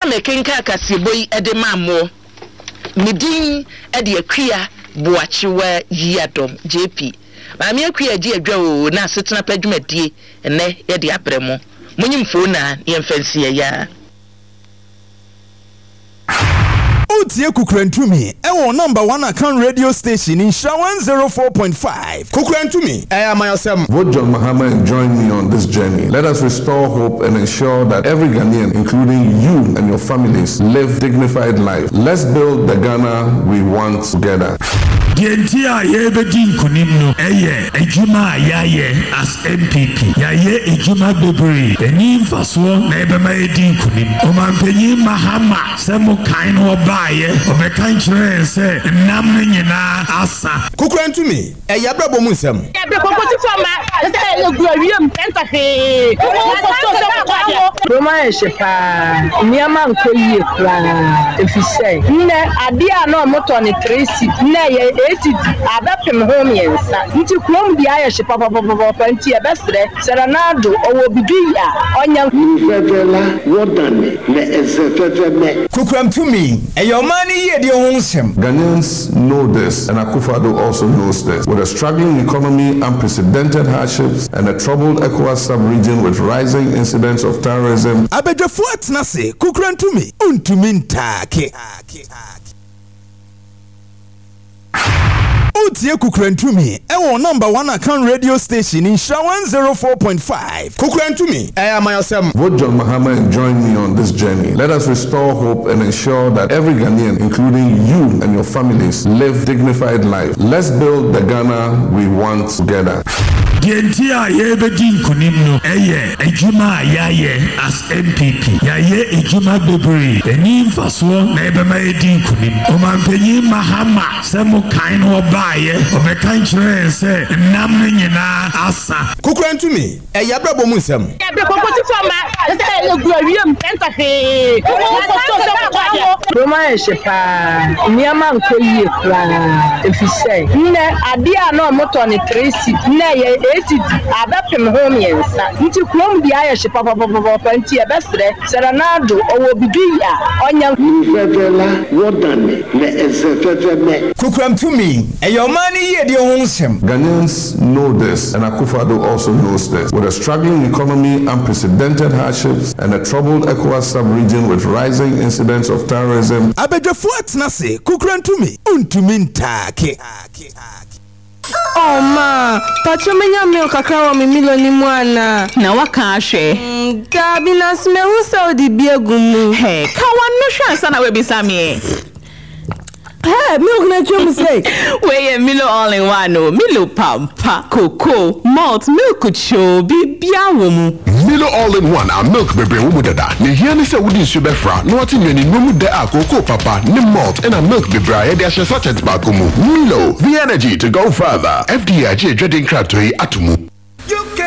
Mekenkan kaseɛbɔ yi de maa moɔ. Me din de Akua Boakyewa Yiadom, JP. Maame Akua agye adwa oo na asetena pa dwumadie nnɛ yɛde abrɛ mo. Monyi mfoo na yɛmfa nsi ɛyaa. Wotie Kukurantumi ɛwɔ number one Akan radio station Nhyira 104.5. Kukurantumi, ɛyɛ amanyɔsɛm. Vote John Mahama and join me on this journey. Let us restore hope and ensure that every Ghanaian, including you and your families, live dignified life. Let's build the Ghana we want together. Deɛ nti a yɛrebɛdi nkunim no yɛ adwuma a yɛayɛ as NPP. Yɛayɛ adwuma bebree. Ɛni mfasoɔ na ɛbɛma yɛadi nkunim. Ɔmanpanyin Mahama, sɛ mo kan no ɔbaeɛ, ɔbɛka nkyerɛɛ yɛn sɛ nnam no nyinaa asa. Kokorantumi, ɛyɛ abrabɔ mu nsɛm. Kurom ayɛ hye paa, nneɛma nkɔ yie koraa efisɛ nnɛ adeɛ a na wɔtɔ no three cedi nnɛ ɛyɛ eight cedi abɛpem ho mmiɛnsa nti kurom deɛ ayɛ hye papapapapa nti yɛbɛsrɛ sɛ Nana Addo ɔwɔ bibi yɛ a ɔnyɛ. Nu veve la wodane le eze veve me. Kokoram tumi, ɛyɛ ɔman no yiedie ho nsɛm. Ghanaians know this, and Akufo-Addo also knows this. With a struggling economy, unprecedented hardships, and a troubled ECOWAS sub-region with rising incidents of terrorism, Abadwafoɔ atena ase, kokoram tumi, ntumi ntaake. Wotie Kukurantumi ɛwɔ number one Akan radio station Nhyira 104.5. Kukurantumi, ɛyɛ amanyɔsɛm. Vote John Mahama and join me on this journey. Let us restore hope and ensure that every Ghanaian, including you and your families, live dignified life. Let's build the Ghana we want together. Deɛ nti a yɛrebɛdi nkunim no yɛ adwuma a yɛayɛ as NPP. Yɛayɛ adwuma bebree. Ɛni mfasoɔ na ɛbɛma yɛadi nkunim. Ɔmanpanyin Mahama, sɛ mo kan no ɔbaeɛ, ɔbɛka nkyerɛɛ yɛn sɛ nnam no nyinaa asa. Kokorantumi, ɛyɛ abrabɔ mu nsɛm. Kurom ayɛ hye paa, nneɛma nkɔ yie koraa efisɛ nnɛ adeɛ a na wɔtɔ no three cedi nnɛ ɛyɛ eight cedi abɛpem ho mmiɛnsa nti kurom deɛ ayɛ hye papapapapa nti yɛbɛsrɛ sɛ Nana Addo ɔwɔ bibi yɛ a ɔnyɛ. Nu veve la wodane le eze veve me. Kokoram tumi, ɛyɛ ɔman no yiedie ho nsɛm. Ghanaians know this, and Akufo-Addo also knows this. With a struggling economy, unprecedented hardships, and a troubled ECOWAS sub-region with rising incidents of terrorism, Abadwafoɔ atena ase, kokorantumi, ntumi ntaake. Oh ma, pacho menya milk kakra wɔ me Milo no mu anaa? Na waka ahwɛ. Mm, daabi, nanso mahu sɛ wode bi agu mu. Hey, ka w'ano hwɛ ansa na woabisa me ɛ. Hey, milk na atwa mu sei. Wei yɛ Milo all in one o. Milo pampa, cocoa, malt, milk kyoo, biribiara wɔ mu. Milo all in one a milk bebree wɔ mu dada. Nea ehia ne sɛ wode nsu bɛfra na woate nnuanennuro mu dɛ a kookoo papa ne malt ɛna milk bebree a yɛde ahyɛ sachet baako mu. Milo, the energy to go further. FDA agye adwadie nkratoɔ yi ato mu.